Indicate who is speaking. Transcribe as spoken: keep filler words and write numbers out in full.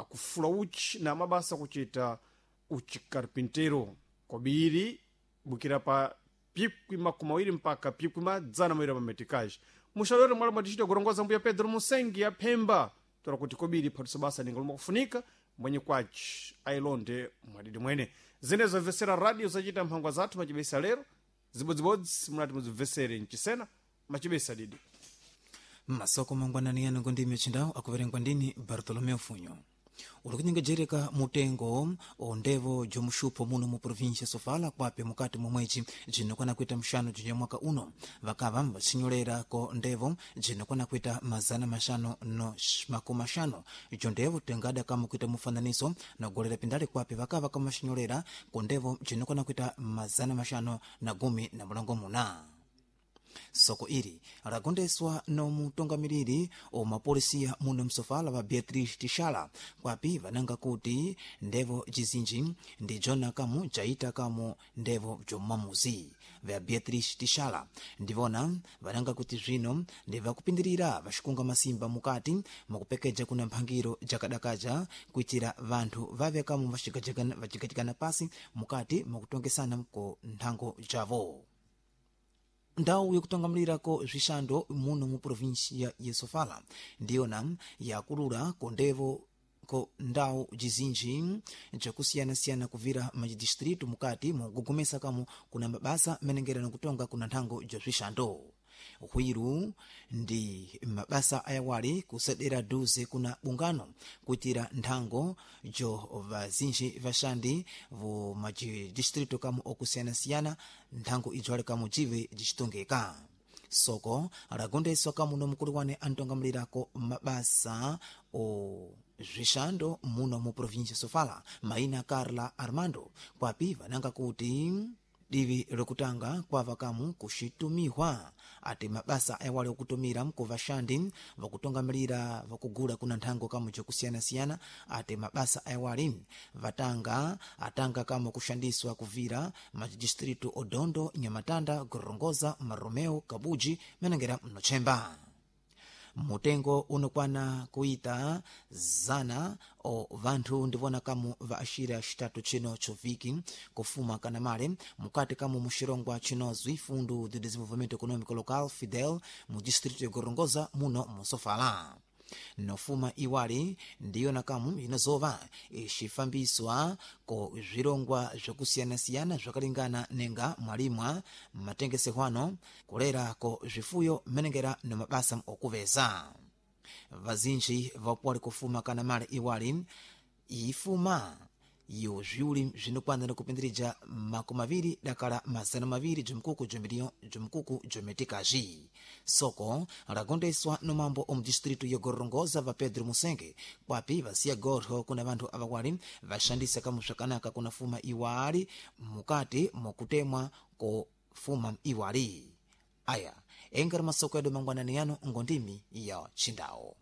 Speaker 1: Akufula uchi na mabasa kuchita uchikarpintero kobiri bukira pa pikwi makumi awiri mpaka pikwi madzana mawiri mametikaji. Muxalori mwala mwatichita kurongoza mbuya Pedro Musengi ya Phemba tola kuti kobiri phatusa basa ninga lomwe kufunika mwenye kwaci ailonde mwadidi mwene. Zinezo mvesera radio zachita mphangwa zathu machibesa lero zibodzibodzi munati muzimvesere mchisena machibesa didi.
Speaker 2: Masoko mangwanani yano ngondimi yachindawu akuverengwa ndini Bartolomeu Funyo. Uli kunyengejereka mutengo ondevo jomuxupho muno mu província Sofala kwape mukati mwa mwedzi jinokwana kuita mxanu jinya mwaka uno vakava vaxinyolera ko ndevo jinokwana kuita mazana maxanu no makumi maxanu ico ndevo tengada kama kuita mufananiso nogolera pindale kwape vakava kama xinyolera ko ndevo jinokwana kuita mazana maxanu na gumi na mulongo muna. Soko ili lagondeswa nomutongamiriri omapolisiya muno msofala wa Beatrice Tishala kwapi vananga kuti ndevo jizinji ndi jona kamu jaita kamu ndevo jomamuzi. Vya Beatrice Tishala ndivona vananga kuti zvino ndivakupindirira vaxikunga masimba mukati mukupekeja kuna mphangiro jakadakaja kuitira vanthu vave kamu vacigajikana pasi mukati mukutongesana ku nthango javo. Ndau yakutongamilirako zwixando muno mu província ya Sofala ndiyona yakulula ko ndevo ko ndau jizinji jakusiyanasiyana kuvira majidistritu mukati mukugomesa kamo kuna mabasa menengera nokutonga kuna nthango ja zwixando. Hwiru ndi mabasa ayawali kusedera duze kuna bungano kuitira nthango jo vazinji vaxandi vo majidistritu kamo okusiyanasiyana nthango ijo ali kamo jive jicitongeka. Soko lagondeswa kamo no mukulu wane antongamilirako mabasa o zwixando muno mu província Sofala maina Carla Armando kwapi vananga kuti divi lokutanga kwava kamu kuxitumiwa ati mabasa ayawali okutumira ku vaxandi vakutongamirira vakugula kuna nthango kamu jakusiyanasiyana ati mabasa ayawali vatanga atanga kamu kuxandiswa kuvira majidistritu Odondo, Nyamatanda, Gorongoza, Maromeo, Kabuji menengera mnochemba. Mutengo unokwana kuita zana o vanthu ndivona kamu va axira xitatu chino choviki kufuma kana male mukati kamu muxirongwa chinozwi Fundo de Desenvolvimento Econômico Local Fidel mu distrito ya Gorongosa muno musofala. Nofuma iwali ndiyona kamu inozova ixifambiswa ko zvirongwa zvakusiyanasiyana zvakalingana nenga mwalimwa matengesehwano kulera ko zvifuyo menengera no mabasa okuveza. Vazinji vapuwali kufuma kana male iwali ifuma yo zviuli zvinokwana kupindirija makumi maviri dakala mazana maviri jomkuku jomiliyo jomkuku jometikazi. Soko lagondeswa no mambo omu distritu ya Gorongosa va Pedro Musenge kwapi vasiya gorho kuna vanthu avawali vaxandisa kamu swakanaka kuna fuma iwali mukati mokutemwa ko fuma iwali. Aya engari masoko yadu mangwanani yano ngondimi ya chindawo.